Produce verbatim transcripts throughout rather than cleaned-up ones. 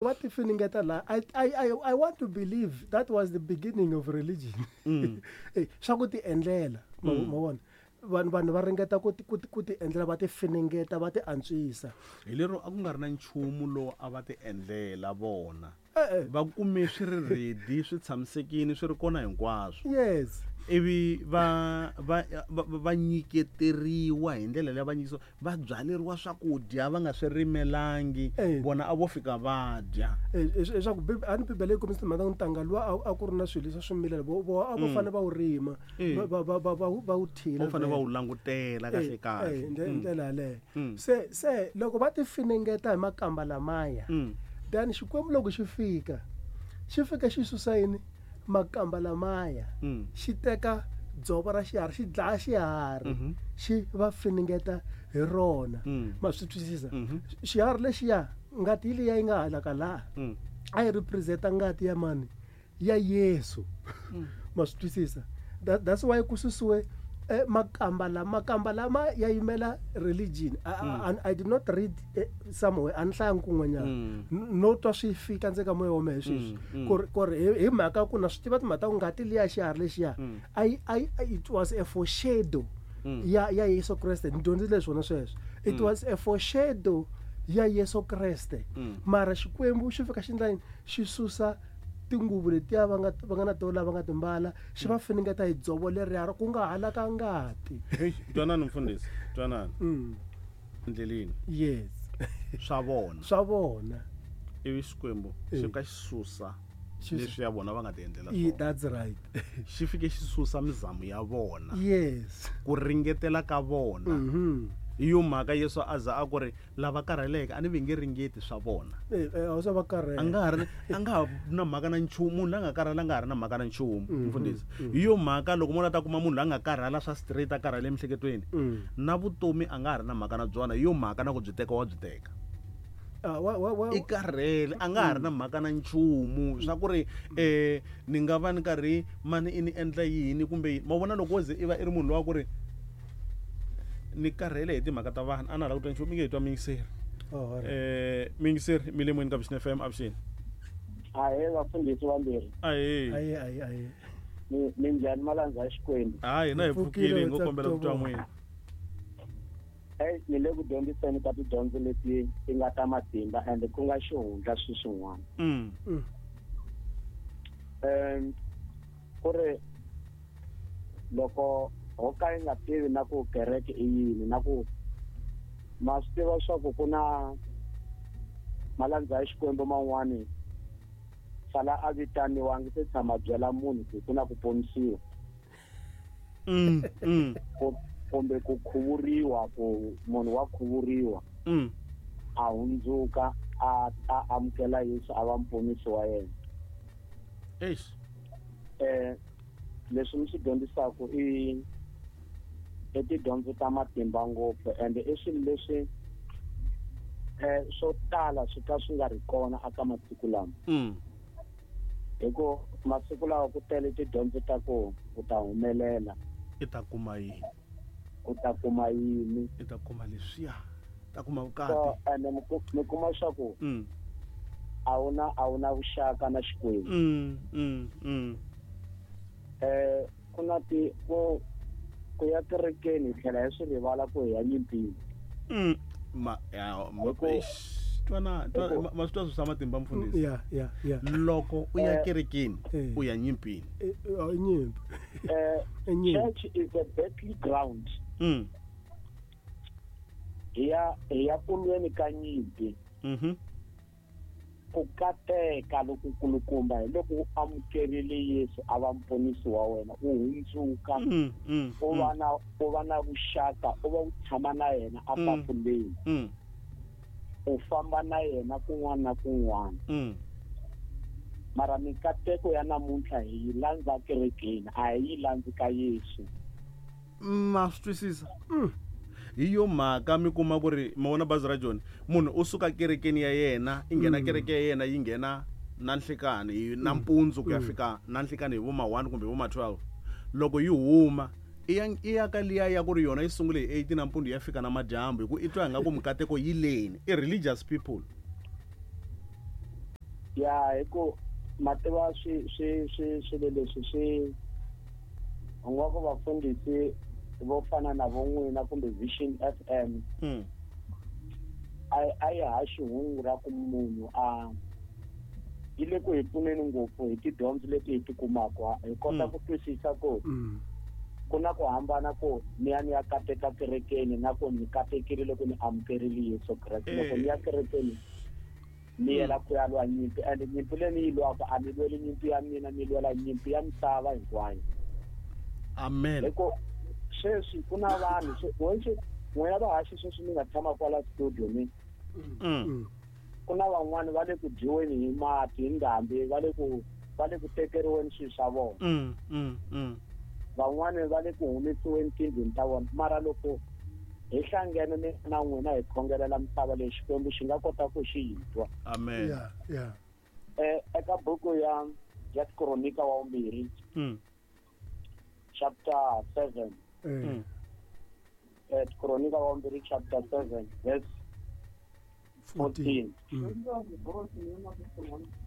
Va ti finingeta laha. I, I, I, I want to believe that was the beginning of religion. Mm. Eh, swa ku ti endlela, ma Mm. ma vona, vanhu vanhu va ringeta ku ti ku ti ku ti endlela, va ti finingeta, va ti antswisa. Hi lero a ku nga ri na nchumu lowu a va ti endlela vona. E-e. Va kume swi ri ready, swi tshamisekile, swi ri kona hinkwaswo. Yes. Ivi va va va va nyiketeriwa hi ndlela leyi va nyikisiwa, va byaleriwa swakudya va nga swi rimelangi. Eh. Vona a vo fika va dya. Leswaku a ni Bibele yi kombisa timhaka ta ku ntanga luwa a ku ri na swilo leswi swi vo vo a vo Mm. fanele va wu rima, Eh. va va va va va wu thila. Va fanele va wu langutela kahle kahle. Eh, hi ndlela yaleyo. Mm. Se se loko va ti finingeta hi makamba lamaya, Mm. then Xikwembu loko xi fika, xi fika xi susa yini? Makamba lamaya. Mm. Xi teka dzovo ra xiharhi, xi dlaya xiharhi, Mhm. xi va finingeta hi rona. Mm. Ma swi twisisa? Mhm. Xiharhi lexiya, ngati liya yi nga halaka laha, Mm. a yi represent-a ngati ya mani? Ya Yesu. Mm. Ma swi twisisa? That, that's why ku susiwe eh, makamba lama, makamba lama ya yimela religion. I, Mm. I, I did not read eh, somewhere, a ni hlayangi kun'wanyana. Mm. No twa swi fika ndzeni ka moya wa mehe sweswi. Mm, mm. Ku ri, ku ri hi, hi mhaka ku na swi tiva timhaka ta ku ngati liya xiharhi lexiya, Mm. a yi, a yi, it was a foreshadow Mm. ya, ya Yesu Kreste. Ni dyondzile swona sweswo. It Mm. was a foreshadow ya Yesu Kreste. Mm. Mara Xikwembu xi fika xi endla yini? Xi susa tinguvu letiya va nga, va nga na tona va nga timbala, xi va finingeta hi dzovo leriya ku nga halaka ngati. Hey, twanani mfundhisi, twanani. Mm. Endleleni. Yes. Swa vona. Swa vona. Ivi Xikwembu Eh. xi fika xi susa Xi su- leswi ya vona va nga ti endlela Yeah, swona. that's right. Xi fike xi susa mizamo ya vona. Yes. Ku ringetela ka vona. Mhm. Hi yo mhaka Yesu a za a ku ri lava karheleke a ni va nge ringeti swa vona. Eh, eh, a swa va karhele. A nga ha ri, a nga ha na mhaka na nchumu, munhu la nga karhala a nga ha ri na mhaka na nchumu, Mhm. mfundhisi. Mhm. Hi yo mhaka loko munhu a ta kuma munhu la nga karhala swa straight a karhala emiehleketweni, Mm. na vutomi a nga ha ri na mhaka na byona, hi yo mhaka na ku byi teka wa byi teka. Ah, wa, wa, wa. I karhele, a nga ha ri na mhaka na nchumu swa ku ri eh ni nga va ni karhi mani i ni endla yini kumbe yini. Ma vona loko wo ze i va i ri munhu lowa ku ri ni karhele hi timhaka ta vanhu, a na ha lava ku twa nchumu, mi nge hi twa muyingiseri. Oh, all right. Eh, muyingiseri, mi le moyeni ka Vuxeni F M, avuxeni. Ahee, vafundhisi vambirhi. Ahee. Ahee, ahee, ahee. Mi, mi njhani malandza ya Xikwembu? Hayi, hina hi Hi pfukile, pfukile, hi ngo kombela ku twa Tsakutwa. n'wina. Hey, ni le ku dyondziseni ka tidyondzo leti ti nga ta matimba and ku nga xihundla swi swin'wana. Mm. Mm. Em, ku ri loko ho ka yi nga tivi na ku kereke i yini, na ku ma swi tiva swa ku ku na malandza ya Xikwembu man'wani sala a vitaniwa, a nge se tshama byela munhu ku ku na ku ponisiwa. Mm, mm. Ku, kumbe ku khuvuriwa, ku munhu wa khuvuriwa. Mm. A hundzuka, a, a amukela Yesu a va muponisi wa yena. Eish. Eh, leswi mi swi dyondzisaka i, i tidyondzo ta matimba ngopfu, and i swilo leswi, eh, swo tala swi ka swi nga ri kona eka masiku lama. Mm. Hi ku masiku lawa ku tele tidyondzo ta ku u ta humelela. I ta kuma yini? U ta kuma yini? I ta kuma leswiya. Ta kuma vukati. So, and mi ku-, mi kuma swa ku Mm. a wu na, a wu na vuxaka na Xikwembu. Mm, mm, mm. Eh, ku na ti, ku, ku ya kerekeni hi tlhela hi swi rivala ku hi ya nyimpini. Mm. Ma, ya, ma, Hi ku eish, twana, twana, hi ku ma, ma swi twa swi swa matimba, mfundhisi? Yeah, yeah, yeah. Loko u ya Eh, kerekeni, Eh. u ya nyimpini. Eh, eh, i nyimpi. Eh, I nyimpi. Church is a battleground. Mm. Hi ya, hi ya kulweni ka nyimpi. Mhm. Ku kateka loku kulukumba hi loko u amukerile Yesu a va muponisi wa wena, u hundzuka, Mm, mm, u va mm. na, u va na vuxaka, u va u tshama na yena a Mm. tafuleni. Mm. U famba na yena kun'wana na kun'wana. Mm. Mara mikateko ya namuntlha hi yi landza kerekeni, a hi yi landzi ka Yesu. Ma swi twisisa? Mm. Hi yo mhaka mi kuma ku ri ma vona bazi ra Joni, munhu u suka kerekeni ya yena, i nghena Mm. kereke ya yena yi nghena na nhlikani, hi Mm. nampundzu ku ya Mm. fika na nhlikani hi vo ma one kumbe vo ma twelve. Loko yi huma, i ya, i ya ka liya ya ku ri yona yi sungule hi eight nampundzu ya fika na madyambu, hi ku i twa ingaku mikateko yi leni. I religious people. Ya hi ku ma tiva swi swi swi swilo leswi swi u nga ku vafundhisi vo fana na vo n'wina kumbe Vision F M mm. a a yi haxi hungu ra ku munhu a yi le ku hi pfuneni ngopfu hi tidyondzo leti hi ti kumaka hi kota ku twisisa ku ku na ku hambana ku ni ya ni ya kateka kerekeni na ku ni katekile loko ni amukerile Yesu Kreste. Loko ni ya kerekeni ni yela ku ya lwa nyimpi, and nyimpi leyi ni yi lwaka a ni lweli nyimpi ya mina, ni lwela nyimpi ya misava hinkwayo. Amen. Hi ku sweswi ku na vanhu n'wina vahaxi sweswi mi nga tshama kwala studio ni ku na van'wani va le ku dyiweni hi mati hi ndhambi, va le ku va le ku tekeriweni swilo swa vona, van'wani va le ku humesiweni tindlwini ta vona. Mara loko hi hlangene ni na n'wina hi khongelela misava leyi, Xikwembu xi nga kota ku xi hi twa. Amen. Yeah, yeah. Eh eka buku ya ya Tikronika wa vumbirhi chapter seven. Mm. Eh Tikronika wa vumbirhi chapter seven verse fourteen.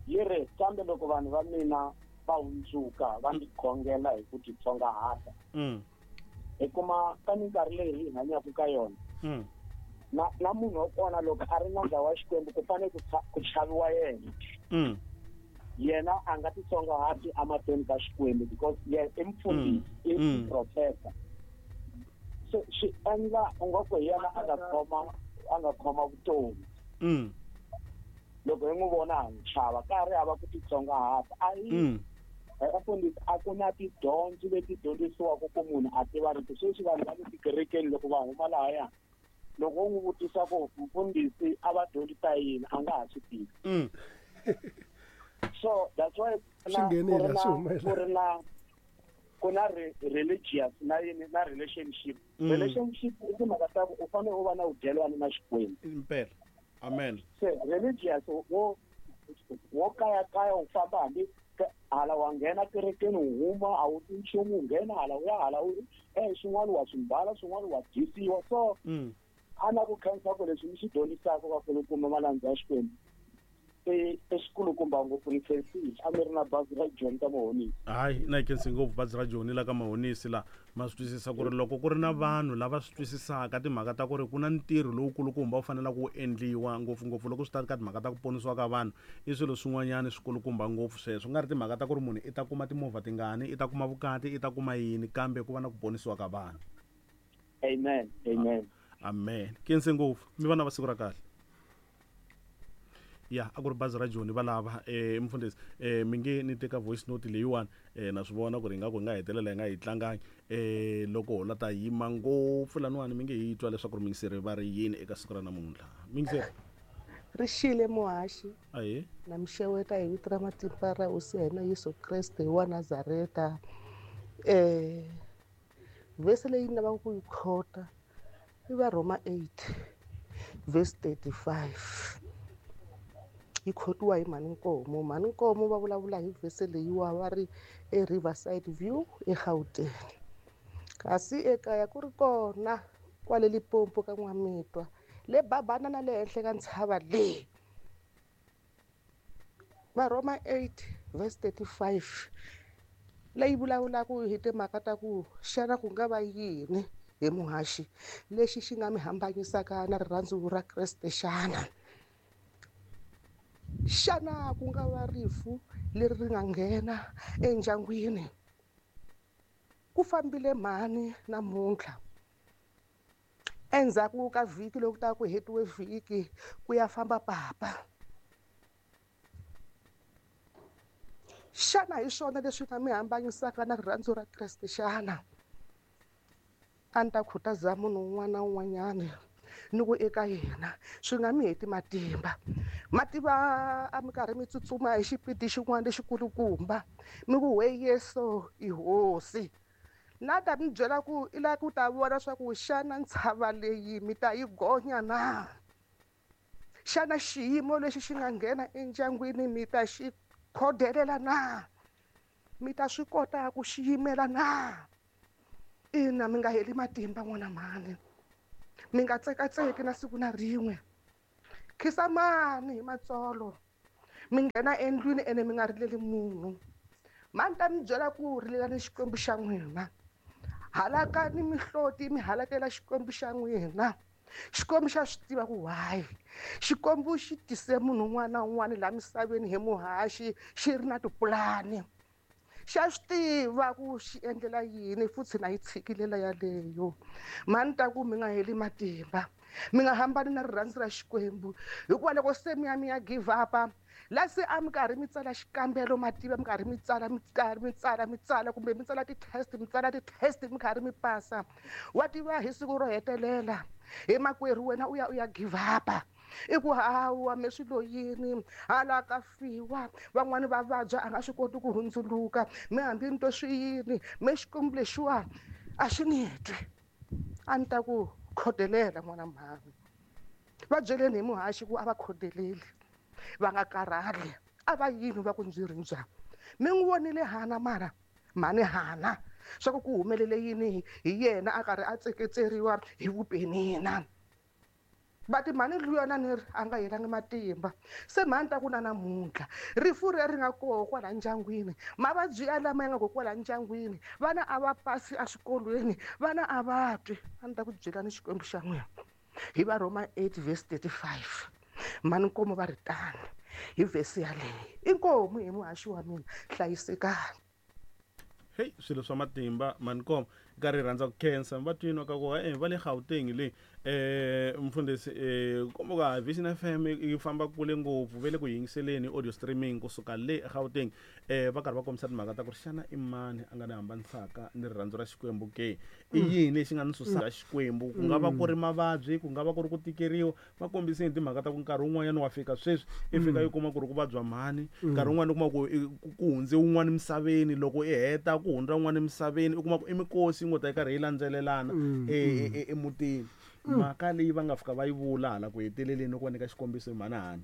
Yi ri kambe loko vanhu va mina va hundzuka va ndzi khongela hi ku titsongahata, hi kuma ka minkarhi leyi hi hanyaka ka yona na na munhu wa kona loko a ri nandza wa Xikwembu ku fanele ku chaviwa yena. Yena a nga titsongahati emahlweni ka Xikwembu because yena i mufundhisi, i profeta. So swi endla u nga ku hi yena a nga khoma a nga khoma vutomi. Loko hi n'wi vona ha n'wi chava, ka ha ri hava ku titsongahata. A yi vafundhisi a ku na tidyondzo leti dyondzisiwaka ku munhu a tiva rito. Sweswi vanhu va le tikerekeni loko va huma lahaya, loko u n'wi vutisa ku mufundhisi a va dyondzisa yini, a nga ha swi tivi. So that's why ku ri na ku na religious na yini na relationship. Relationship i timhaka ta ku u fanele u va na vudyelwani na Xikwembu. Impela. Amen. Se religious wo wo kaya kaya u famba hambi hala wa nghena kerekeni u huma a wu ti nchumu, u nghena hala u ya hala u eh swin'wana wa swi mbala, swin'wana wa dyisiwa. So a na ku khensa ku leswi mi swi dyondzisaka vakulukumba malandza ya Xikwembu i xikulukumba ngopfu. Ni khensile a mi ri na bazi ra Joni ka Mahonisi. Hayi na yi khensi ngopfu bazi ra Joni la ka Mahonisi la. Ma swi twisisa ku ri loko ku ri na vanhu lava swi twisisaka timhaka ta ku ri ku na ntirho lowukulukumba wu fanelaka wu endliwa ngopfungopfu loko swi ta ka timhaka ta ku ponisiwa ka vanhu, i swilo swin'wanyana swikulukumba ngopfu sweswo. Ku nga ri timhaka ta ku ri munhu i ta kuma timovha tingani, i ta kuma vukati, i ta kuma yini, kambe ku va na ku ponisiwa ka vanhu. Amen. Amen. Amen. Khensi ngopfu mi vana va siku ra kahle. Ya a ku ri bazi ra Joni va lava eh mfundhisi eh mi nge ni teka voice note leyiwani eh na swi vona ku ri ingaku hi nga hetelela hi nga yi tlangangi eh loko ho la ta yima ngopfu laniwani mi nge hi twa leswaku ri mingiseri va ri yini eka siku ra namuntlha. Mingiseri ri xile muhaxi ahe na mixeweta hi vito ra matimba ra Hosi ya hina Yesu Kreste wa Nazareta. Eh vhesi leyi ni lavaka ku yi khota i va Roma eight verse thirty-five. Yi khotiwa hi Mhani Nkomo. Mhani Nkomo va vulavula hi vhesi leyiwa va ri eRiverside View eGauteng, kasi ekaya ku ri kona kwale Limpopo ka N'wamitwa le babana na le henhla ka ntshava leyi. Va Roma eight verse thirty-five leyi vulavulaka hi timhaka ta ku xana ku nga va yini hi muhaxi lexi xi nga mi hambanyisaka na rirhandzu ra Kreste xana? Xana ku nga va rifu leri ri nga nghena endyangwini? Ku fambile mhani namuntlha endzhaku ka vhiki loko ta ku hetiwe vhiki ku ya famba papa. Xana hi swona leswi nga mi hambanyisaka na rirhandzu ra Kreste xana? A ni ta khutaza munhu un'wana na un'wanyana ni ku eka yena swi nga mi heti matimba. Mativa a mi karhi mi tsutsuma hi xipidi xin'wana lexikulukumba mi ku we Yesu i hosi. Na ta mi byela ku i lava ku ta vona swa ku xana ntshava leyi mi ta yi gonya na? Xana xiyimo lexi xi nga nghena endyangwini mi ta xi khodelela na? Mi ta swi kota ku xi yimela na? Ina, mi nga heli matimba n'wana mhani, mi nga tsekatseki na siku na rin'we. Khisamani hi matsolo Mi nghena endlwini ene mi nga rileli munhu. Mhani ta mi byela ku rilelani Xikwembu xa n'wina. Halakani mihloti mi halakela Xikwembu xa n'wina. Xikwembu xa swi tiva ku why. Xikwembu xi tise munhu un'wana na un'wana laha misaveni hi muhaxi xi ri na tipulani. Xa swi tiva ku xi endlela yini futhi na yi tshikilela yaleyo. Mhani ta ku mi nga heli matimba. Mi nga hambani na rirhandzu ra Xikwembu. Hikuva loko se mi ya mi ya give up-a, la se a mi karhi mi tsala xikambelo mativa mi karhi mi tsala mi karhi mi tsala mi tsala kumbe mi tsala ti-test mi tsala ti-test mi karhi mi pasa. Wa tiva hi siku ro hetelela hi makwerhu wena u ya u ya give up-a. I ku hawa me swilo yini hala ka fiwa van'wani va vabya a nga swi koti ku hundzuluka mi hambi ni to swi yini me Xikwembu lexiwa a xi ni twi. A ni ta ku khodelela n'wana mhani. Va byeleni hi muhaxi ku a va khodeleli va nga karhali a va yini va ku ndzi ri njhani. Mi n'wi vonile Hana mara mhani Hana swa ku ku humelele yini hi yena a karhi a tseketseriwa hi vupenina. Va ti mhani luyana ni ri a nga helangi matimba. Se mhani ta ku na namuntlha rifu ri ri nga koho kwala ndyangwini, mavabyi ya lama ya nga koho kwala ndyangwini, vana a va pasi eswikolweni, vana a va twi. A ni ta ku byelani Xikwembu xa n'wina hi va Roma eight verse thirty-five. Mhani Nkomo va ri tani hi verse yaleyo. Inkomu hi muhaxi wa mina, hlayisekani. Hey, swilo swa matimba mhani Nkomo nkarhi rhandza ku khensa va twini ka ku eh va le Gauteng le eh mfundhisi eh komba ka Vision F M yi famba kule ngopfu ve le ku yingiseleni audio streaming kusuka le Gauteng eh va karhi va kombisa timhaka ta ku ri xana i mani a nga ni hambanisaka ni rirhandzu ra Xikwembu ke i yini lexi nga ni susaka Xikwembu ku nga va ku ri mavabyi ku nga va ku ri ku tikeriwa va kombiseni timhaka ta ku nkarhi wun'wanyana wa fika sweswi i fika yi kuma ku ri ku vabya mhani nkarhi wun'wana u kuma ku ku hundze wun'wana emisaveni loko i heta ku hundza wun'wana emisaveni u kuma ku i mikosi ngo ta yi karhi yi landzelelana emutini mhaka leyi va nga fika va yi vula hala ku heteleleni loko va nyika xikombiso hi mhani Hana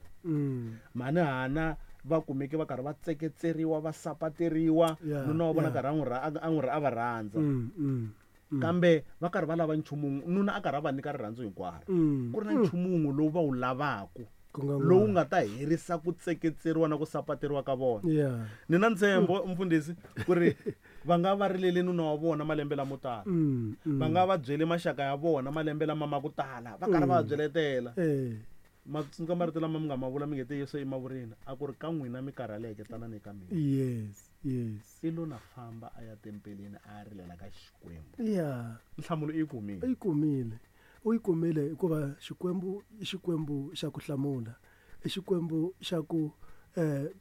mhani Hana va kumeke va karhi va tseketseriwa va sapateriwa nuna wa vona karhi a n'wi a n'wi a va rhandza kambe va karhi va lava nchumu nuna a karhi a va nyika rirhandzu hinkwaro ku ri na nchumu wun'we lowu va wu lavaku lowu nga ta herisa ku tseketseriwa na ku sapateriwa ka vona ni na ntshembo mfundhisi ku ri va nga va rilele nuna wa vona malembe lamo tala va nga va byele maxaka ya vona malembe lama ma ku tala va karhi va byeletela ma tsundzuka marito lama mi nga ma vula mi nge te Yesu i mavurini a ku ri ka n'wina mi karhaleke tanani eka mina yes yes i lo na famba a ya tempeleni a ya rilela ka Xikwembu yeah nhlamulo i yi kumile i kumile u yi kumile hikuva Xikwembu i Xikwembu xa ku hlamula i Xikwembu xa ku eh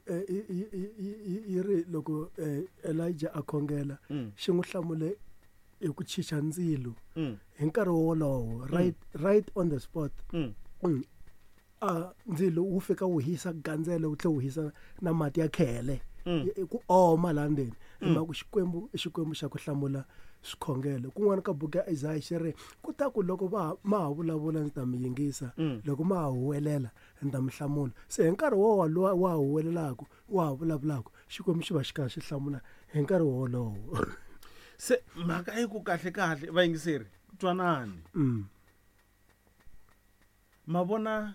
yi ri loko Elijah a khongela xi n'wi hlamule hi ku chicha ndzilo hi nkarhi wolowo right right on the spot a ndzilo wu fika wu hisa gandzelo wu tlhe wu hisa na mati ya khele ku oma laha ndzeni hi mhaka ku Xikwembu i Xikwembu xa ku hlamula swikhongelo kun'wana ka buku ya Isaiah xi ri ku ta ku loko va ma ha vulavula ndzi ta mi yingisa loko ma ha huwelela ndzi ta mi hlamula se hi nkarhi wo wa wa huwelelaka wa ha vulavulaka Xikwembu xi va xi karhi xi hlamula hi nkarhi wolowo se mhaka yi ku kahle kahle vayingiseri twanani ma vona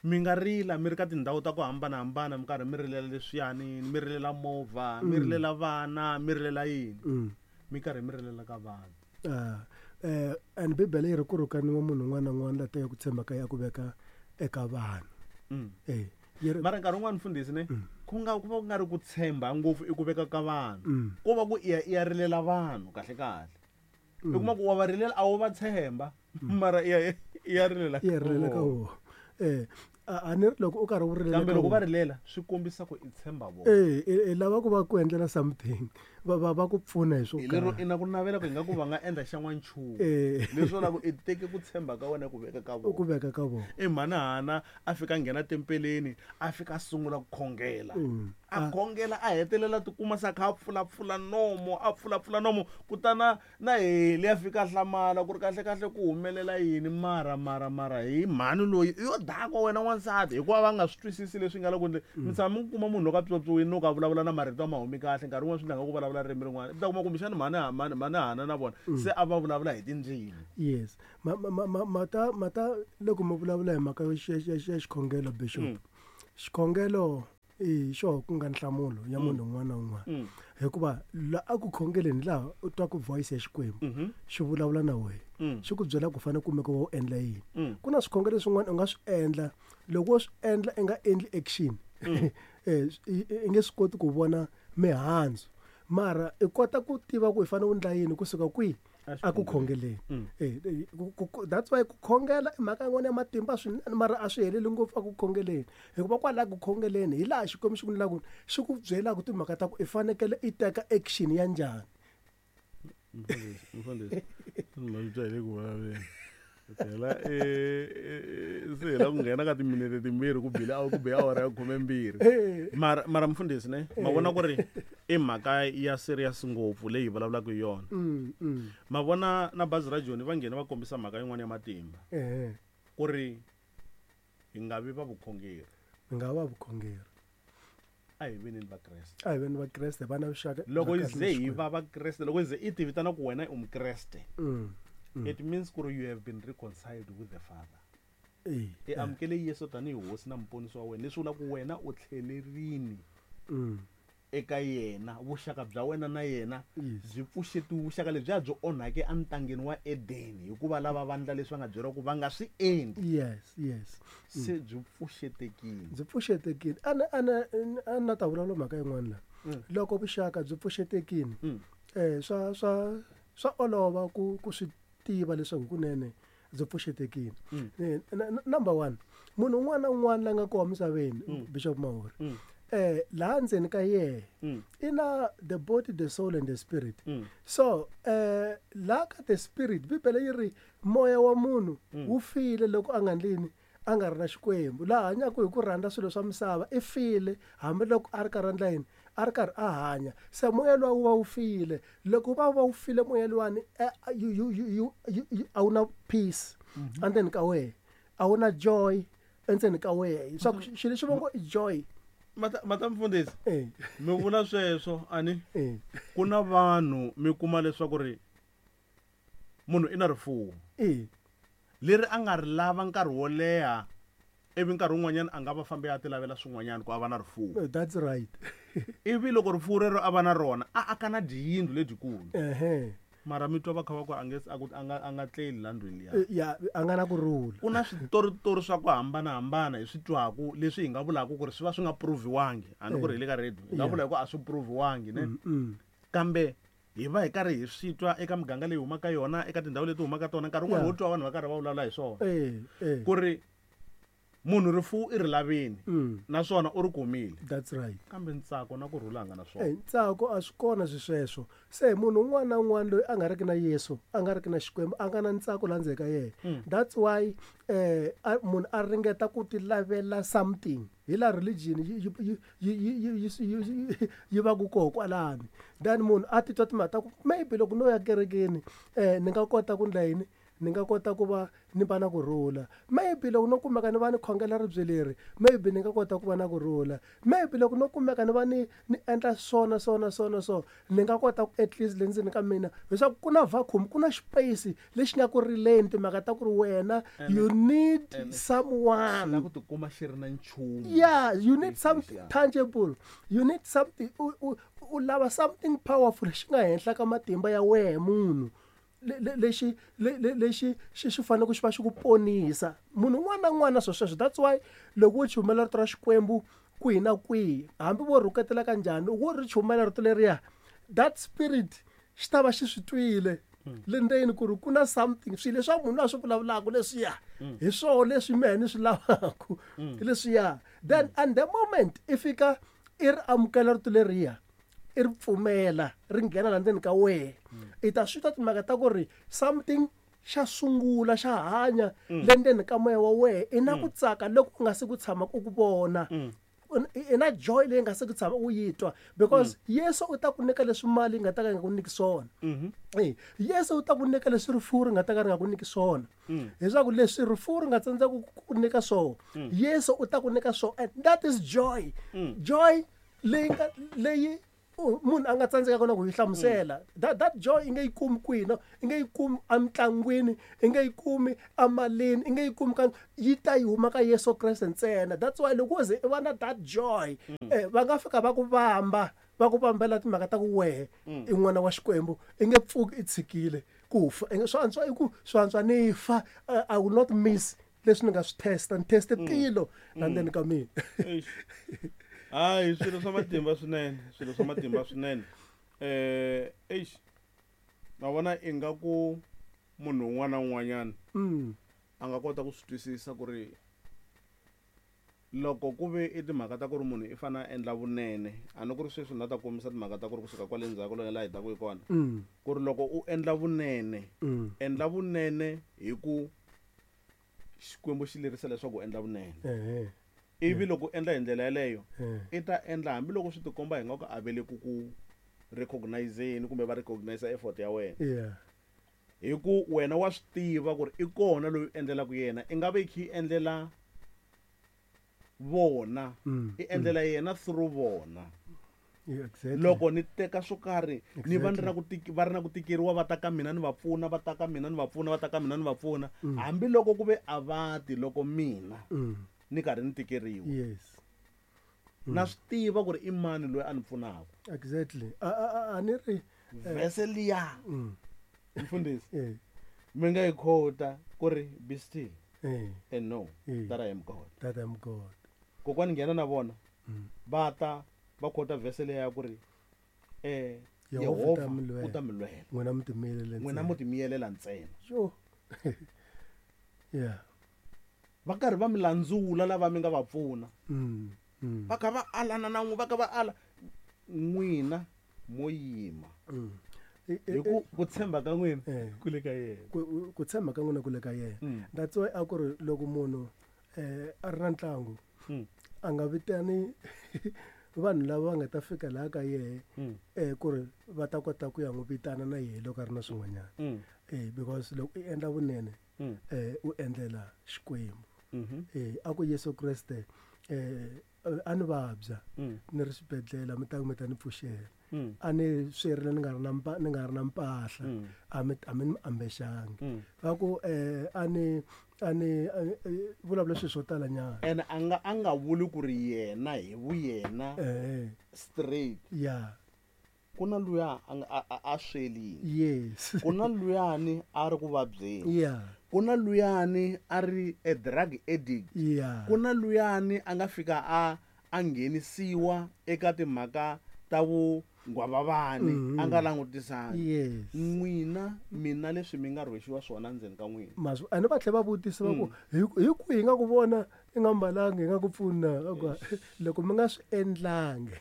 mi nga rila mi ri ka tindhawu ta ku hambanahambana mi karhi mi rilela leswiyani mi rilela movha mi rilela vana mi rilela yini mi karhi mi rilela ka vanhu eh and Bibele yi ri ku rhukaniwa munhu un'wana na un'wana la teka ku tshemba ka ya ku veka eka vanhu eh mara nkarhi wun'wana mfundhisi ne ku nga ku va ku nga ri ku tshemba ngopfu i ku veka ka vanhu ko va ku i ya i ya rilela vanhu kahle kahle i kuma ku wa va rilela a wu va tshemba mara i ya i ya rilela i ya rilela ka vona eh a ni ri loko u karhi u rilela kambe loko va rilela swi kombisa ku i tshemba vona eh i lava ku va ku endlela something va va va ku pfuna hi swo karhi lero i na ku navela ku ingaku va nga endla xan'wanchumu leswo la ku i teke ku tshemba ka wena ku veka ka vona ku veka ka vona i mhani Hana a fika nghena tempeleni a fika a sungula ku khongela a khongela a hetelela tikuma sa kha a pfulapfula nomo a pfulapfula nomo kutana na Heli a fika hlamala ku ri kahle kahle ku humelela yini mara mara mara hi mhani loyi i yo dakwa wena n'wansati hikuva va nga swi twisisi leswi nga le ku endleni mi tshama mi kuma munhu loko a pyopyiwile no ka vulavula na marito a ma humi kahle nkarhi wun'wana swi endla nga ku vulavula ririmi rin'wana i ta kuma kumbexana mhani mhani mhani Hana na vona se a va vulavula hi tindzimi yes ma ma ma mata mata loko mi vulavula hi mhaka ya xikhongelo bishop Xikhongelo i xo ku nga nhlamulo ya munhu un'wana na un'wana. Hikuva la a ku khongeleni laha u twa ku voice ya Xikwembu xi vulavula na wena. Xi ku byela ku fanele kumeka u endla yini. Ku na swikhongelo swin'wana u nga swi endla loko wo swi endla i nga endli action. Eh i nge swi koti ku vona mihandzu. Mara i kota ku tiva ku i fanele u endla yini kusuka kwihi a ku khongeleni. Eh that's why ku khongela i mhaka yin'wana ya matimba swinene mara a swi heleli ngopfu a ku khongeleni. Hikuva kwalaha ku khongeleni hi laha Xikwembu xi ku endlaka xi ku byelaka timhaka ta ku i fanekele i teka action ya njhani. Mfundhisi, mfundhisi, ma byi le ku vulavuleni. Phela eh se hi la ku nghena ka timinete timbirhi ku bile ku be awara ya khume mbirhi. Mara mara mfundhisi ne ma vona ku ri i mhaka ya serious ngopfu leyi hi vulavulaka hi yona. Ma vona na bazi ra Joni va nghena va kombisa mhaka yin'wana ya matimba. Ku ri hi nga vi va vukhongeri. Hi nga va vukhongeri. A hi veni Vakreste. A hi veni Vakreste va na vuxaka. Loko hi ze hi va Vakreste, loko hi ze i ti vitana ku wena u Mukreste. It means ku you have been reconciled with the Father. I amukele Yesu tanihi hosi na muponisi wa wena, leswi vulaka ku wena u tlhelerini eka yena, vuxaka bya wena na yena byi pfuxetiwe, vuxaka lebyi a byi onhake entangeni wa Edeni hikuva lava vandla leswi va nga byeriwa ku va nga swi endli. Yes, yes. Se byi pfuxetekile. Byi pfuxetekile. Ana ana ana ta vulavula mhaka yin'wana la. Loko vuxaka byi pfuxetekile, eh swa swa swa olova ku ku swi tiva leswaku kunene byi pfuxetekile. Number one, munhu un'wana na un'wana la nga kona misaveni, Bishop Mahori, eh laha ndzeni ka yena i na the body, the soul and the spirit. So eh la ka the spirit, Bibele yi ri moya wa munhu wu file loko a nga ndlini a nga ri na Xikwembu. Laha hanyaka hi ku rhandza swilo swa misava i file hambiloko a ri karhi a endla yini, a ri karhi a hanya. Se moya luwa wu va wu file. Loko va va wu file moya luwani, you you you a wu na peace endzeni ka wena, a wu na joy endzeni ka wena. Swa ku xilo lexi va ngo i joy. Mata mata mfundhisi, mi vula sweswo ani ku na vanhu mi kuma leswaku ri munhu i na rifuwo leri a nga ri lava nkarhi wo leha, ivi nkarhi wun'wanyana a nga va fambi a ti lavela swin'wanyana ku a va na rifuwo. That's right. Ivi loko rifuwo rero a va na rona a aka na dyiyindlu ledyikulu. Mara mi twa va kha va ku a nge a ku a nga a nga tleli la ndlwini liya. Ya, a nga na ku rhula. Ku na switoritori swa ku hambanahambana hi swi twaku leswi hi nga vulaka ku ri swi va swi nga proviwangi. A ni ku ri hi le ka radio, hi nga vula hi ku a swi proviwangi ne. Kambe hi va hi karhi hi swi twa eka miganga leyi humaka yona, eka tindhawu leti humaka tona, nkarhi wun'wana wo twa vanhu va karhi va vulavula hi swona. Ku ri munhu rifuwo i ri lavini naswona u ri kumile. That's right. Kambe ntsako na ku rhula nga na swona. Eh ntsako a swi kona swisweswo. Se munhu un'wana na un'wana loyi a nga riki na Yesu, a nga riki na Xikwembu, a nga na ntsako laha ndzeni ka yena. That's why eh munhu a ringeta ku ti lavela something. Hi la religion yi yi yi yi yi va ku koho kwalani. Then munhu a titwa timhaka ta ku maybe loko no ya kerekeni eh ni nga kota ku ndla yini, ni nga kota ku va ni va na ku rhula. Maybe loko no kumeka ni va ni khongela ribye leri, maybe ni nga kota ku va na ku rhula. Maybe loko no kumeka ni va ni ni endla swona swona swona so ni nga kota ku at least le ndzeni ka mina, leswaku ku na vacuum, ku na space lexi nga ku rileni timhaka ta ku ri wena you need someone. La ku tikuma xi ri na nchumu. Yeah, you need something tangible. You need something, u u u lava something powerful lexi nga henhla ka matimba ya wena munhu. Lexi lexi xi xi fanele ku xi va xi ku ponisa. Munhu un'wana na un'wana swo sweswo. That's why loko wo chumela rito ra Xikwembu kwihi na kwihi, hambi vo rhuketela ka njhani, wo ri chumela rito leriya, that spirit xi ta va xi swi twile le ndzeni ku ri ku na something, swilo leswi munhu a swi vulavulaka leswiya hi swona leswi mehe ni swi lavaka leswiya. Then and the moment i fika i ri amukela rito leriya, i ri pfumela ri nghena la ndzeni ka wena, i ta swi twa timhaka ta ku ri something xa sungula xa hanya le ndzeni ka moya wa wena. I na ku tsaka loko u nga se ku tshama u ku vona, i na joy leyi nga se ku tshama u yi twa, because Yesu u ta ku nyika leswi mali yi nga ta ka yi nga ku nyiki swona. Eh Yesu u ta ku nyika leswi rifuwo ri nga ta ka ri nga ku nyiki swona. Leswaku leswi rifuwo ri nga tsandzeka ku nyika swona, Yesu u ta ku nyika swona. And that is joy. Joy leyi nga leyi munhu a nga tsandzekaka na ku yi hlamusela. That that joy i nge yi kumi kwihi na i nge yi kumi emitlangwini, i nge yi kumi emalini, i nge yi kumi ka yi ta yi huma ka Yesu Kreste ntsena. That's why loko wo ze i va na that joy, eh, va nga fika va ku vamba, va ku vambela timhaka ta ku wehe i n'wana wa Xikwembu, i nge pfuki i tshikile ku fa. I nge swi antswa i ku swi antswa ni fa, I will not miss leswi ni nga swi testa, ni teste tilo la ndzeni ka mina. Hayi, swilo swa matimba swinene, swilo swa matimba swinene. Eh, eish, na vona ingaku munhu un'wana na un'wanyana Mm. a nga kota ku swi twisisa ku ri loko ku ve i timhaka ta ku ri munhu i fanele a endla vunene, a ni ku ri sweswi na ta kombisa timhaka ta ku ri kusuka kwale ndzhaku loyi laha hi taka hi kona, Mm. ku ri loko u endla vunene, Mm. endla vunene hi ku Xikwembu xi lerisa leswaku u endla vunene. Ehe. Ivi loko u endla hi ndlela yeleyo, Eh. i ta endla hambiloko swi tikomba hi nga ku a ve le ku ku recognizeni kumbe va recognize effort ya wena. Yeah. Hi ku wena wa swi tiva ku ri i kona loyi u endlelaka yena, i nga ve i kha i endlela vona, Mm, i endlela yena through vona. Yeah, exactly. Loko ni teka swo karhi, ni va ni ri na Exactly. ku tiki-, va ri na ku tikeriwa, va ta ka mina ni va pfuna, va ta ka mina ni va pfuna, va ta ka mina ni va pfuna. Mm. Hambiloko ku ve a va ti loko mina Mm. ni karhi ni tikeriwa. Yes. Mm. Na swi tiva ku ri i mani loyi a ni pfunaka. Exactly. A, a, a, a ni ri, Verse liya. Mm. Mfundhisi. Eh. Mi nga yi quote ku ri be still Eh. and know Eh. that I am God. That I am God. Kokwani nghena na vona. Mm. Va ta va quote verse liya ya ku ri, eh, Yehovha u ta Yehovha mi lwela. u ta mi lwela. N'wina mi timiyelela N'wina ntsena. mo timiyelela ntsena. Sure. Yeah. Va karhi va mi landzula lava mi nga va pfuna. Mm. Mm. Va kha va alana na n'wi, va kha va ala. N'wina mo yima. Mm. E, e, Hi ku ku tshemba ka n'wina Eh. ku le ka yena. Ku, ku tshemba ka n'wina ku le ka yena. Mm. That's why a ku ri loko munhu, eh, a ri na ntlangu, Mm. a nga vitani vanhu lava va nga ta fika laha ka yehe, Mm. eh, ku ri va ta kota ku ya n'wi vitana na yehe loko a ri na swin'wanyana. Mm. Eh, because loko i endla vunene, Mm. eh, u endlela Xikwembu. Mm-hmm. Eh, a ku Yesu Kreste, eh, a ni vabya, Mm. ni ri xibedhlele, mi ta mi ta ni pfuxela. Mm. A ni swerile ni nga ri na mpa-, ni nga ri na mpahla, Mm. a mi, a mi ni ambexangi. Mm. Va ku, eh, a ni, a ni, a ni, eh, vulavula swilo swo tala nyana. Ene a nga, a nga vuli ku ri yena hi vuyena Eh. straight. Yeah. Ku na luya a nga, a, a, a swelini. Yes. Ku na luyani a ri ku vabyeni. Yeah. Ku na luyani a ri a drug addict. Yeah. Ku na luyani a nga fika a, a nghenisiwa eka timhaka ta vungwavavani, Mm-hmm. a nga langutisangi. Yes. N'wina mina leswi mi nga rhwexiwa swona ndzeni ka n'wina. Maswi, a ni va tlhela va vutisa va ku, Mm. hi ku, hi ku hi nga ku vona i nga mbalangi, hi nga ku pfuna, va ku, loko mi nga swi endlangi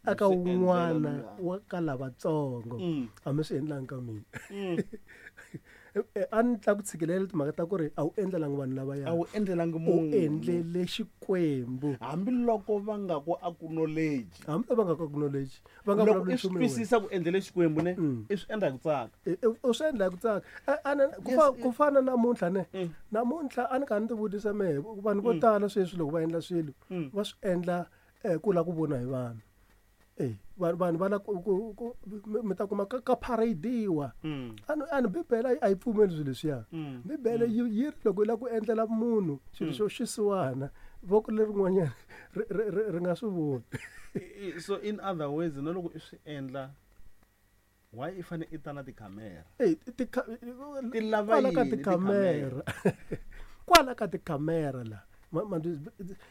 aka Mi swi endlela wun'wana luya. wa ka lavatsongo, Mm. a mi swi endlangi ka mina. Mm. Eh, a ni tla ku tshikilela timhaka ta ku ri a wu endlelangi vanhu lavaya. A wu endlelangi U munhu. endlele Xikwembu. Hambiloko va nga ku acknowledge. Hambi va nga ku acknowledge, va nga Loko vulavuli i swi nchumu hi wena. twisisa ku endlele Xikwembu ne, Mm. i swi endla hi ku tsaka. Eh, eh, u swi endla hi ku tsaka. A, a, na, ku Yes, fa-, eh. ku fana namuntlha ne. Mm. Namuntlha a ni kha ni ti vutisa mehe, vanhu vo Mm. tala sweswi loko va endla swilo, Mm. va swi endla, eh, ku lava ku vona hi vanhu. Eh, vanhu, vanhu va lava ku, ku, ku, mi, mi ta kuma ka, ka parade-iwa. Mm. A ni, a ni Bibele a yi, a yi pfumeli swilo leswiya. Mm. Bibele Mm. yi, yi ri loko u lava ku endlela munhu xilo Mm. xo xisiwana, voko lerin'wanyana ri, ri, ri, ri nga swi voni. I, i, so in other words, na loko i swi endla, why i fanele i ta na tikhamera? Eh, tikha-, Ti lava kwala ka yini tikhamera? Kwala ka tikhamera la. Ma, ma,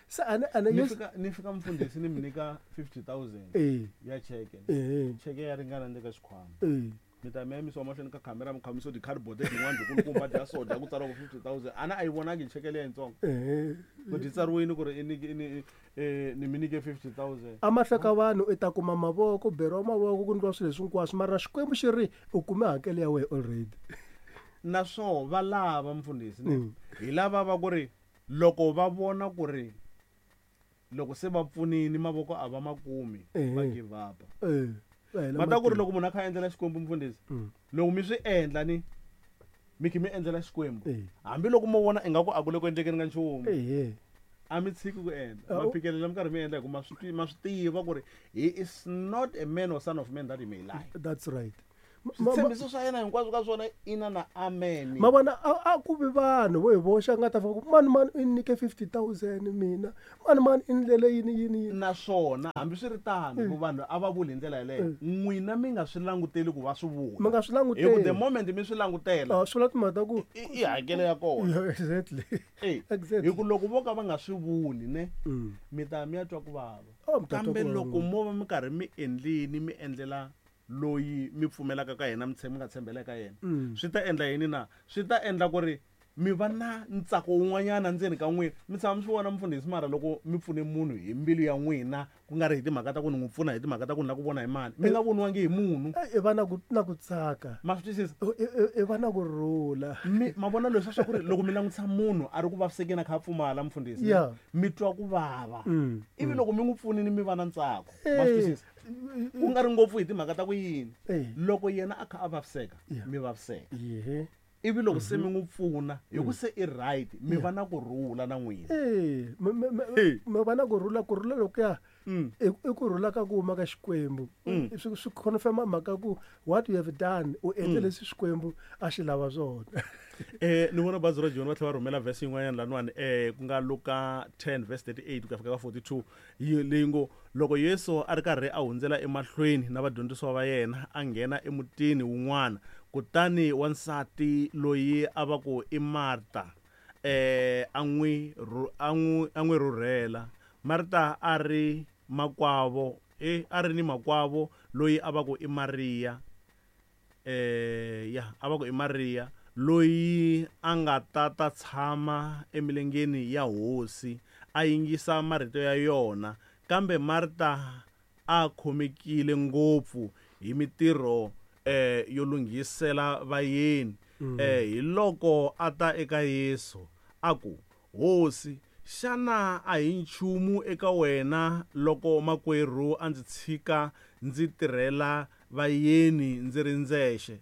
se a ni, a ni Ni yes. fika, ni fika mfundhisi ni mi nyika fifty thousand Eh. ya cheke. Eh. Cheke ya ringana ni le ka xikhwama. Eh. Mi ta mi ya yimisiwa mahlweni ka khamera, mi khamisiwa ti-cardboard letin'wana byi kulukumba dya so dya ku tsariwa ku fifty thousand. A na a yi vonangi cheke leya yitsongo. Eh. Ku dyi tsariwile ku ri i nyike, i ni, eh, ni mi nyike fifty thousand. A mahlweni ka vanhu i ta kuma mavoko, beriwa mavoko, ku endliwa swilo leswi hinkwaswo, mara Xikwembu xi ri u kume hakelo ya wena already. Naswona va lava mfundhisi ne? Mm. Hi lava va ku ri loko va vona ku ri loko se va pfunile mavoko a va ma kumi, Eh. va give up. Eh, va hela Va ta ku ri matimba. loko munhu a kha a endlela Xikwembu mfundhisi, Mm. loko mi swi endla ni mi kha mi endlela Xikwembu, Eh. hambiloko mo vona ingaku a ku le ku endlekeni ka nchumu, Eh, eh. A mi tshiki ku endla. Ah, Ma u- phikelela mi karhi mi endla hi ku ma swi ti- ma swi tiva ku ri he is not a man or son of man that he may lie. That's right. Ma- ma- ma- Switshembiso swa yena hinkwaswo ka swona ina na amen. ma vona a a ku vi vanhu vo hi voxa nga ta fika ku mani mani i nyike fifty thousand mina mani mani i ndlele yini yini yini. Naswona hambiswiritano ku vanhu a va vuli hi ndlela yeleyo, n'wina mi nga swi languteli ku va swi vula. Mi nga swi Hi ku the languteli. moment mi swi langutela, Ah, swi vula timhaka ta ku i i hakelo ya kona. Yeah, exactly. Eh, Exactly. hi ku loko vo ka va nga swi vuli ne, Mm. mi ta mi ya twa ku vava. Oh, mi ta twa Kambe ku vava. loko mo va mi karhi mi endlini mi endlela loyi mi pfumelaka ka yena, mi tshemba, mi nga tshembela eka yena, Mm. swi ta endla yini na? Swi ta endla ku ri mi va na ntsako wun'wanyana ndzeni ka n'wina. Mi tshama mi swi vona mufundhisi, mara loko mi pfune munhu hi mbilu ya n'wina, ku nga ri hi timhaka ta ku ni n'wi pfuna hi timhaka ta ku ni lava ku vona hi mali, mi nga voniwangi hi munhu. Eh, i va na ku na ku tsaka. Ma swi twisisa? I- i- i va na ku rhula. Mi ma vona leswi swa ku ri loko mi langutisa munhu a ri ku vavisekeni a kha a pfumala mufundhisi, Yeah. mi twa ku vava. Mm, Ivi loko mi n'wi pfunile mi va na ntsako. Ma swi Eh, twisisa? Ku nga ri ngopfu hi timhaka ta ku yini, Eh. loko yena a kha a vaviseka, Yeah. mi vaviseka. Yehe. Ivi loko se mi n'wi pfuna hi ku se i right, mi va na ku rhula na n'wina. Eh, mi- mi- mi- Hey. mi va na ku rhula, ku rhula lokuya Mm. i i ku rhula ka ku huma ka Xikwembu. Mm. Swi swi confirm mhaka ku what you have done, u endle Mm. leswi Xikwembu a xi lava swona. Eh, ni vona bazi ra Joni va tlhela va rhumela verse yin'wanyana laniwani, eh, ku nga Luka ten verse thirty-eight ku ya fika ka forty-two, yi leyi ngo loko Yesu a ri karhi a hundzela emahlweni na vadyondzisiwa va yena, a nghena emutini wun'wana, kutani wansati loyi a va ku i Marta, eh, a n'wi rhu-, a n'wi, a n'wi rhurhela. Marta a ri makwavo, eh, a ri ni makwavo loyi a va ku i Mariya, eh, ya, a va ku i Mariya, loyi a nga ta ta tshama emilengeni ya hosi, a yingisa marito ya yona. Kambe Marta a khomekile ngopfu hi mitirho, eh, yo lunghisela vayeni. Mm. Eh, hi loko a ta eka Yesu a ku, Hosi, xana a hi nchumu eka wena loko makwerhu a ndzi tshika ndzi tirhela vayeni ndzi ri ndzexe?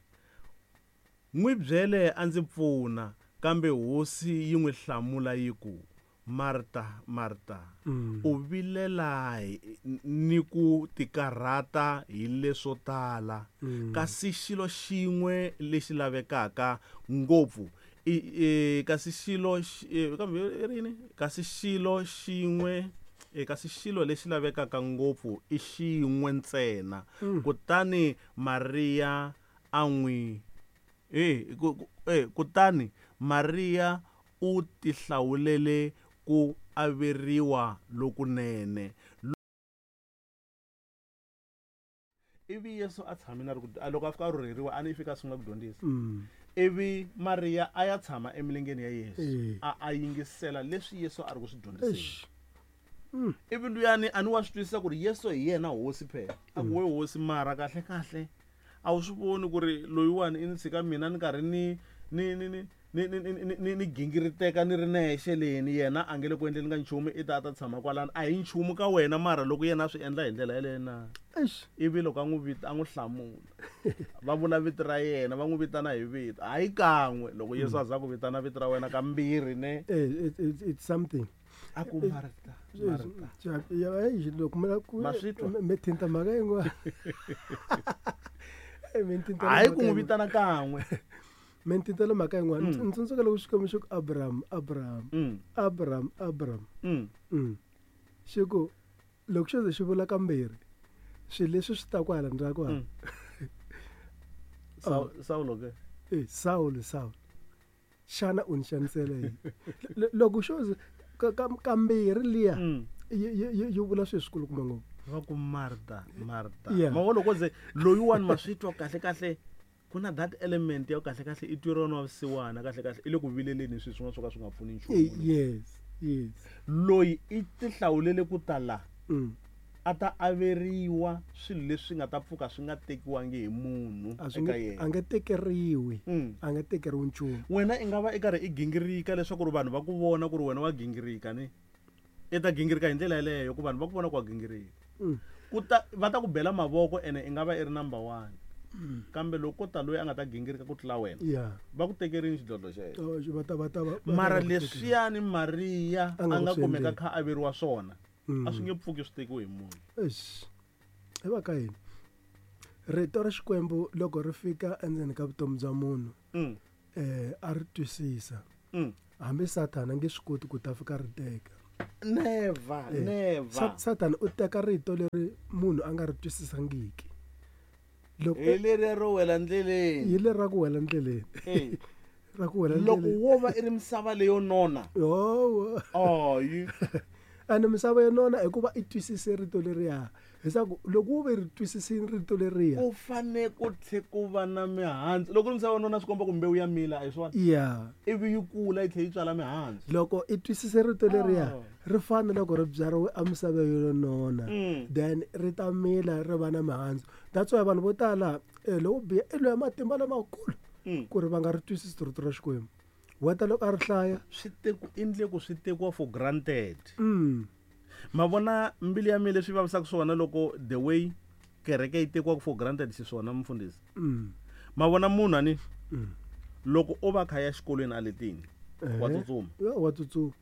N'wi byele a ndzi pfuna. Kambe hosi yi n'wi hlamula yi ku, Marta, Marta, Mm. u vilela hi, ni ku tikarhata hi leswo tala, Mm. kasi xilo xin'we lexi lavekaka ngopfu i, i, kasi xilo xi, e, kambe i ri yini? Kasi xilo xin'we, e, kasi xilo lexi lavekaka ngopfu i xin'we ntsena. Mm. Kutani Maria a n'wi, eh, ku, ku, eh, kutani Maria u tihlawulele ku averiwa lokunene. Ivi Yesu a tshame na ri ku, a loko a fika a rhurheriwa, a ni fika a sungula ku dyondzisa. Mm. Ivi Maria a ya tshama emilengeni ya Yesu, Eh. a, a yingisela leswi Yesu a ri ku swi dyondziseni. Eish. Mm. Ivi luyani a ni wa swi twisisa ku ri Yesu hi yena hosi phela. A ku we hosi, mara kahle kahle a wu swi voni ku ri loyiwani i ni tshika mina ni karhi ni, ni, ni, ni, ni, ni, ni, ni, ni, ni gingiriteka ni ri nexe leni, yena a nge le ku endleni ka nchumu, i ta a ta tshama kwalano. A hi nchumu ka wena, mara loko yena a swi endla hi ndlela yeleyo na? Eish. Ivi loko a n'wi vita, a n'wi hlamula, va vula vito ra yena, va n'wi vitana hi vito, hayi kan'we. Loko Yesu a za ku vitana vito ra wena kambirhi ne, Eh, it, it, it's something. A ku Marta, Marta. Ja, ja, eish, loko mi la ku- Ma swi twa? mi thinta mhaka yin'wana. Eh, mi thinta Hayi mhaka ku n'wi yin'wana. vitana kan'we. Mi ntintela mhaka yin'wana. Mm. Ndzi tsundzuka loko Xikwembu xi ku Abraham, Abraham, Mm. Abraham, Abraham. Mm. Mm. Xi ku loko xo ze xi vula kambirhi, swilo leswi swi ta ku hala ndzhaku hala. Mm. Saul, Saulo ke? Eh, Saul, Saul. Xana u ni xanisela yini? L-, loko xo ze ka-, ka-, kambirhi liya, Mm. yi, yi, yi, yi vula swilo swikulukumba ngopfu. Va ku Marta, Marta. Yeah. Ma vona loko ze loyiwani ma swi twa kahle kahle, ku na that element ya kahle kahle i tweriwa na vusiwana kahle kahle, i le ku vileleni swilo swin'wana swo ka swi nga pfuni nchumu. Eh, yes, yes. Loyi i tihlawulele ku ta la, Mm. a ta averiwa swilo leswi nga ta pfuka swi nga tekiwangi hi munhu A swi eka nge, yena. a nge tekeriwi. Mm. A nge tekeriwi nchumu. Wena i nga va i karhi i gingirika leswaku ri vanhu va ku vona ku ri wena wa gingirika ni. I ta gingirika hi ndlela yeleyo ku vanhu va ku vona ku wa gingirika. Mm. Ku ta, va ta ku bela mavoko ene i nga va i ri number one. Kambe loko ko ta loyi a nga ta gingirika ku tlula wena, ya va ku tekerini xidlodlo xa yena. Oh, va ta va ta va va Mara ta va ku tekela. leswiyani Mariya A nga a nga ku swi kumeka endleni. kha a veriwa swona, Mm. a swi nge pfuki swi tekiwe hi munhu. Eish. Hi va ka yini rito ra Xikwembu loko ri fika endzeni ka vutomi bya munhu, Mm. eh a ri twisisa, Mm. hambi Sathana a nge swi koti ku ta fika ri teka. Never, Eh, never. Sa- Sathana u teka rito leri munhu a nga ri twisisangiki. Loko Hi leriya ro wela ndleleni. hi leri ra ku wela ndleleni. Eh. Ra ku wela Loko ndleleni. wo va i ri misava leyo nona, Yowo. ayi. Ene misava yo nona hikuva i twisise rito leriya. Leswaku loko wo ve ri twisisile rito leriya. Ku fane ku tlhe ku va na mihandzu. Loko ri misava yo nona swi komba ku mbewu ya mila, a hi swona? Ya. Ivi yi kula yi tlhela yi tswala mihandzu. Loko i twisise rito leriya, Oh. ri fana loko ri byariwe emisaveni yo nona, Mm. then ri ta mila ri va na mihandzu. That's why vanhu vo tala, eh, lowo biha i loyi matimba lamakulu Mm. ku ri va nga ri twisisi rito ra Xikwembu. Weta loko a ri hlaya, Swi teku endle ku swi tekiwa for granted. Mm. Ma vona mbilu ya mina leswi vavisaka swona loko the way kereke yi tekiwaka for granted xiswona, mfundhisi. Mm. Ma vona munhu ani, Mm. loko o va kha ya xikolweni a letini, wa Eh. tsutsuma. Ya, wa tsutsuma.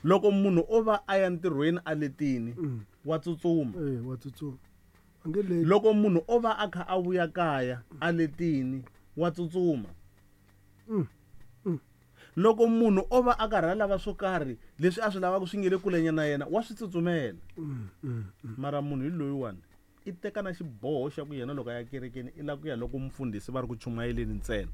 Loko munhu o va a ya ntirhweni a letini, Mm. wa tsutsuma. Eh, wa tsutsuma. A nge leti. Loko munhu o va a kha a vuya kaya a letini, wa tsutsuma. Mm. Mm. Loko munhu o va a karhi a lava swo karhi leswi a swi lavaka swi nge le kulenyana na yena, wa swi tsutsumela. Mm, mm, mm. Mara munhu hi loyiwani i teka na xiboho xa ku yena loko a ya kerekeni i lava ku ya loko mfundhisi va ri ku chumayeleni ntsena.